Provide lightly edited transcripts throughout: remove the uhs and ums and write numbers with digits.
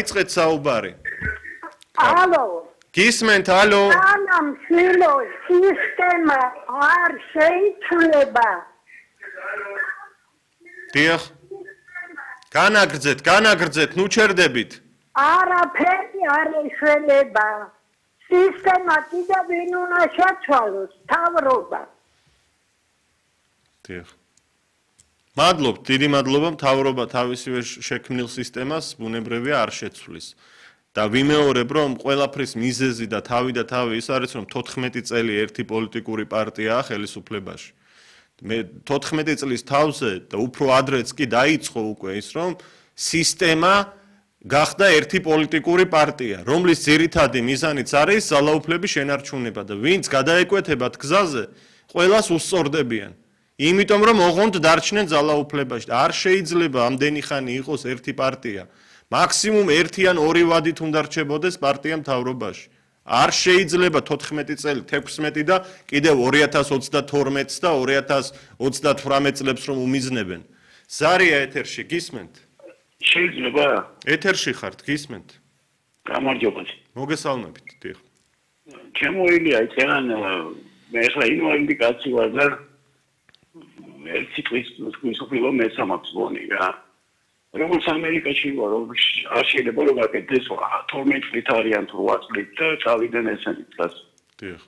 იწყეთ საუბარი. Алло. გისმენთ, ალო. სანამ შილო სისტემა არ შეიცვლება. დიახ. განაგრძეთ, ნუ ჩერდებით. არაფერი არ ეშველება. სისტემა კიდევ ვინ უნდა შეცვალოს, მთავრობა. დიახ. მადლობთ, დიდი მადლობა, მთავრობა თავისივე შექმნილ სისტემას ბუნებრივია არ შეცვლის. და ვიმეორებ, რომ ყველაფრის მიზეზი და თავი ის არის, რომ 14 წელი ერთი პოლიტიკური პარტიაა ხელისუფლებაში. მე 14 წლის თავზე და უფრო ადრეც კი დაიწყო უკვე ის, რომ სისტემა გახდა ერთი პოლიტიკური პარტია, რომლის ძირითადი მიზანიც არის ძალაუფლების შენარჩუნება და ვინც გადაეკვეთებათ გზაზე, ყველას უსწორდებიან. იმიტომ რომ ოღონდ დარჩნენ ძალაუფლებაში. არ შეიძლება ამდენი ხანი იყოს ერთი პარტია. მაქსიმუმ 1 ან 2 ვადით უნდა რჩებოდეს პარტია მთავრობაში. არ შეიძლება 14 წელი, 16 და კიდევ 2032 და 2038 წლებს რომ უმიზნებენ. ზარია ეთერში გისმენთ? შეიძლება? ეთერში ხართ, გისმენთ? გამარჯობა. მოგესალმებით, დიახ. ჩემოილია იციან მე ახლა ინვალიდი კაცი ვარ და ერთი წლის მსხვილი მესამაკს ვონი რა. როგორც ამერიკაში ვარ, არ შეიძლება რომ აკეთდეს 12 წლით არიან თუ 8 წლით და წავიდნენ ესენი წას. დიახ.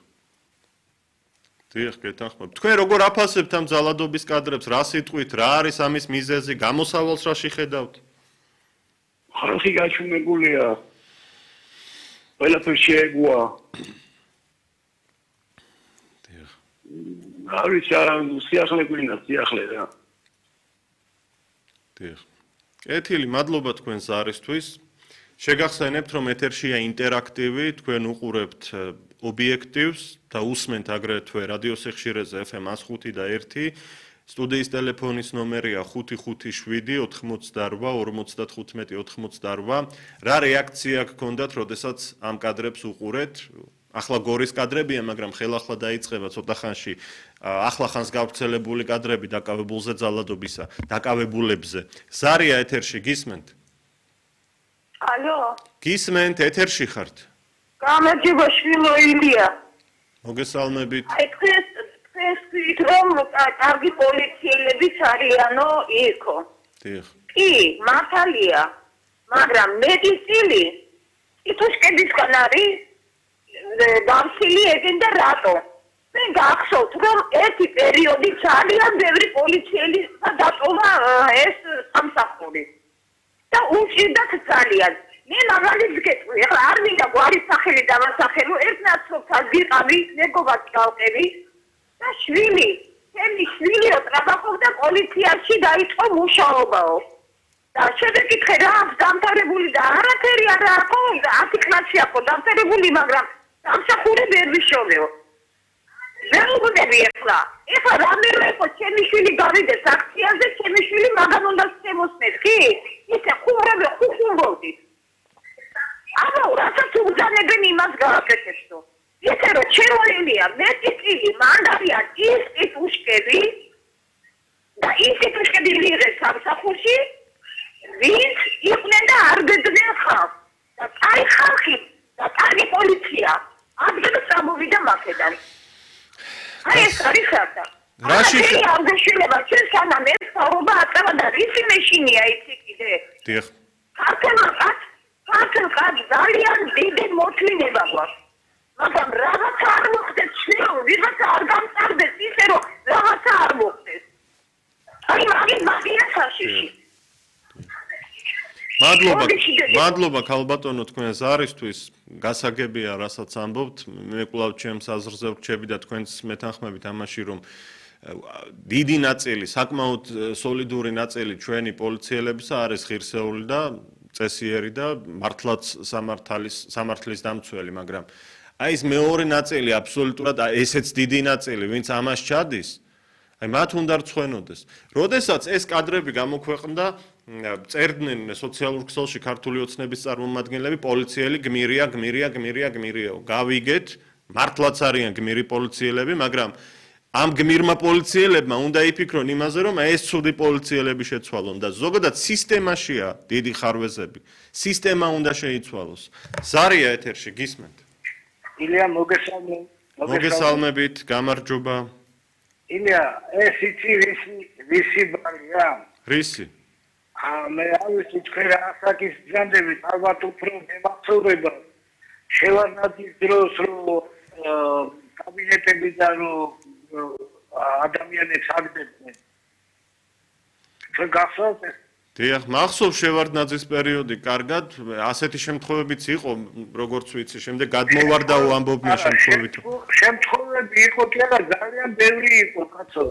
დიახ, გეთანხმებ. თქვენ როგორ აფასებთ ამ ძალადობის კადრებს, რა სიტყვით, რა არის ამის მიზეზი, გამოსავალს რა შეხედავთ? ხალხი გაჩვენებულია. ყველაფერს შეეგუა. დიახ. არის სიახლე გვინდა, სიახლე რა. დიახ. კეთილი, მადლობა თქვენს არისთვის. შეგახსენებთ, რომ ეთერშია ინტერაქტივი, თქვენ უყურებთ ობიექტივს და უსმენთ აგრეთვე რადიოსიხშირეზე FM 105 და 1. სტუდიის ტელეფონის ნომერია 557 88 55 88. რა რეაქცია გქონდათ, როდესაც ამ კადრებს უყურეთ? ახლა გორის კადრებია, მაგრამ ხელახლა დაიწყება ცოტა ხანში ახლა ხანს გავრცელებული კადრები დაკავებულზე ძალადობისა, დაკავებულებზე. ზარია ეთერში გისმენთ? Алло. გისმენთ, ეთერში ხართ? გამარჯობა შვილო ილია. მოგესალმებით. აი თქვენ რომ კარგი პოლიციელებიც არიანო იქო. დიახ. კი, მართალია. მაგრამ მეტი წილი იტუშკებისგან არის გამსილი ეგენ და რატო? მე გახსოვთ რომ ერთი პერიოდი ძალიან ბევრი პოლიციელი დატოვა ეს სამსახური. და უჭირდათ ძალიან. მე მაგალითს გეტყვი, ახლა არ მინდა გვარის სახელი დავასახელო, ერთ ნაცნობთან ვიყავი, მეგობარს გავყევი და შვილი, ჩემი შვილი ტრაბახობდა პოლიციაში დაიწყო მუშაობაო. და შეგეკითხე რა დამთავრებული და არაფერი არ აქვს, 10 კლასში აქვს დამთავრებული, მაგრამ სამსახური ვერ ვიშოვეო. მე მგონები ახლა რამე იყო ჩემი შვილი გავიდეს აქციაზე, ჩემი შვილი მაგან უნდა შემოსმეს, კი? ისე ხუმრობდი. აბა, რასაც უგზავნებენ იმას გააკეთებსო. ისე რომ შემოილია მეტი წილი, მან არიან ის ტიტუშკები და ის ტიტუშკები მიიღეს სამსახურში, ვინც იყვნენ და არ გეძნენ ხალხს. და აი ხალხი და კარგი პოლიცია ადგილს წამოვიდა მაქედან. აი ეს არის ხარდა. რაში არ გაშილება ჩვენ სანამ ეს საუბარ აწევა და ისი მეშინია იცი კიდე. დიახ. ქართლ ძალიან დიდი მოთმინება გვაქვს. მაგრამ რაღაცა არ მოხდეს შვილო, ვიღაცა არ გამწარდეს ისე რომ რაღაცა არ მოხდეს. აი მაგია საშიში. მადლობა ქალბატონო თქვენს არისთვის. გასაგებია რასაც ამბობთ. მე კვლავ ჩემს აზრზე ვრჩები და თქვენს მეთანხმებით ამაში რომ დიდი ნაწილი, საკმაოდ სოლიდური ნაწილი ჩვენი პოლიციელებისა არის ღირსეული და წესიერი და მართლაც სამართლის დამცველი, მაგრამ აი ეს მეორე ნაწილი აბსოლუტურად ესეც დიდი ნაწილი, ვინც ამას ჩადის, აი მათ უნდა რცხვენოდეს. როდესაც ეს კადრები გამოქვეყნდა, წერდნენ სოციალურ ქსელში ქართული ოცნების წარმომადგენლები, პოლიციელი გმირია. გავიგეთ, მართლაც არიან გმირი პოლიციელები, მაგრამ ამ გმირმა პოლიციელებმა უნდა იფიქრონ იმაზე, რომ ეს ცუდი პოლიციელები შეცვალონ და ზოგადად სისტემაშია დიდი ხარვეზები. სისტემა უნდა შეიცვალოს. ზარია ეთერში გისმენთ. ილია მოგესალმებით, გამარჯობა. ილია, ეს იცი ვისი ბარია? რისი? მე არ ვიცი თქვენ რა ასაკის ძანდებით ალბათ უფრო მემახსოვრება შევარდნაძის დროს რომ კაბინეტებიდან რომ ადამიანებს აგდებდნენ. თქვენ გახსოვთ ეს? დიახ, მახსოვს შევარდნაძის პერიოდი, კარგად, ასეთი შემთხვევებიც იყო, როგორც ვიცი, შემდეგ გადმოვარდაო ამბობდნენ შემთხვევით. შემთხვევები იყო კი არა, ძალიან ბევრი იყო, კაცო.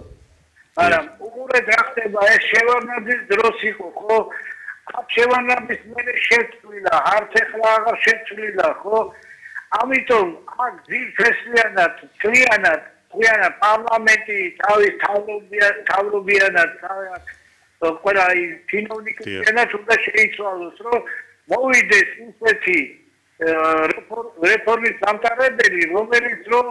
მაგრამ უყურეთ რა ხდება, ეს შევარდნაძის დროს იყო, ხო? შევარდნაძის მერე შეცვლილა, არც ეხლა აღარ შეცვლილა, ხო? ამიტომ აქ ძირფესლიანად, წლიანად პარლამენტი თავის თავრობიანად ყველა ჩინოვნიკებიანად უნდა შეიცვალოს, რომ მოვიდეს ისეთი რეფორმის დამტარებელი, რომელიც რომ